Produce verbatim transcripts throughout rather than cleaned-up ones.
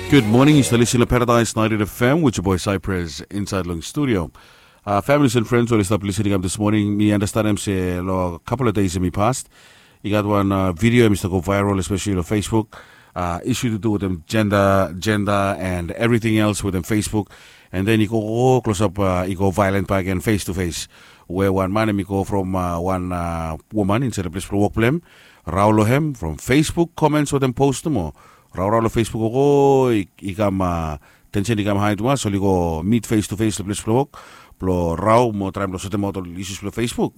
Good morning, yu stap lisin long Paradise ninety-eight F M with your boy Cypress inside long studio. Uh, families and friends, oli stap listening up this morning. Mi understand se long couple of days in mi past, i gat wan uh, video mi start go viral, especially long Facebook. Uh, issue to do with them gender, gender and everything else with them Facebook. And then i go, go close up, uh, i go violent back again face to face. Where one man mi go from uh, one uh, woman inside the place for work blame. Raulo him from Facebook comments with them post mo. Raorao long Facebook o i kam tensen i kam hai tumas oli go mit face to face long ples blong wok blong rao mo traem long sotem aut ol isus blong Facebook.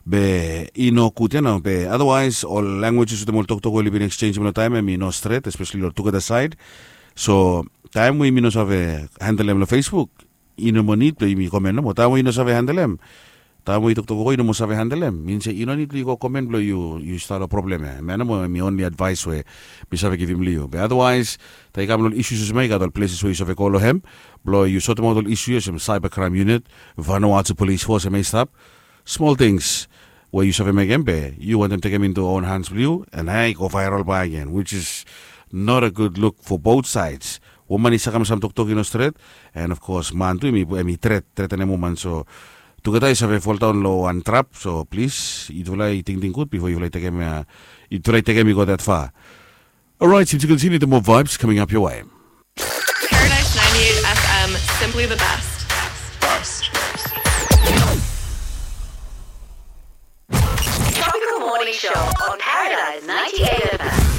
Be i no gud ya nao be otherwise ol languages wetem ol toktok we oli bin exchange long taem em i no stret especially long tugeta saed. So taem we yumi no save handle em long Facebook, i no moa nid blong yumi komen nomo taem we i no save handle em. Taem we i toktok o i no moa save handel em, min se i no nid blong yu go komen blong yu yu stap long problem ya. Em ya nomo em i onli advaes we mi save givim long yu be otherwise taem i kam long ol isus olsem ya i gat ol pleses we yu save go long hem blong yu sotimaot ol isu olsem cyber crime unit, Vanuatu police force em ya i stap. Smol tings we yu save mekem be yu wantem tekem intu own hans blong yu, and ya i go viral bae agen which is not a good look for both sides. Woman i sakamsam toktok i no stret, and of course man tu em i tret tretenem woman so tugeta i save foldaon long wan trap. So plis yutufala i tingting gud bifo yutufala i tekem i go dat fa. Orait yumi tu kontiniu tu moa vibes coming up your way. Paradise ninety-eight F M, simply the best. Tropical Morning Show on Paradise ninety-eight.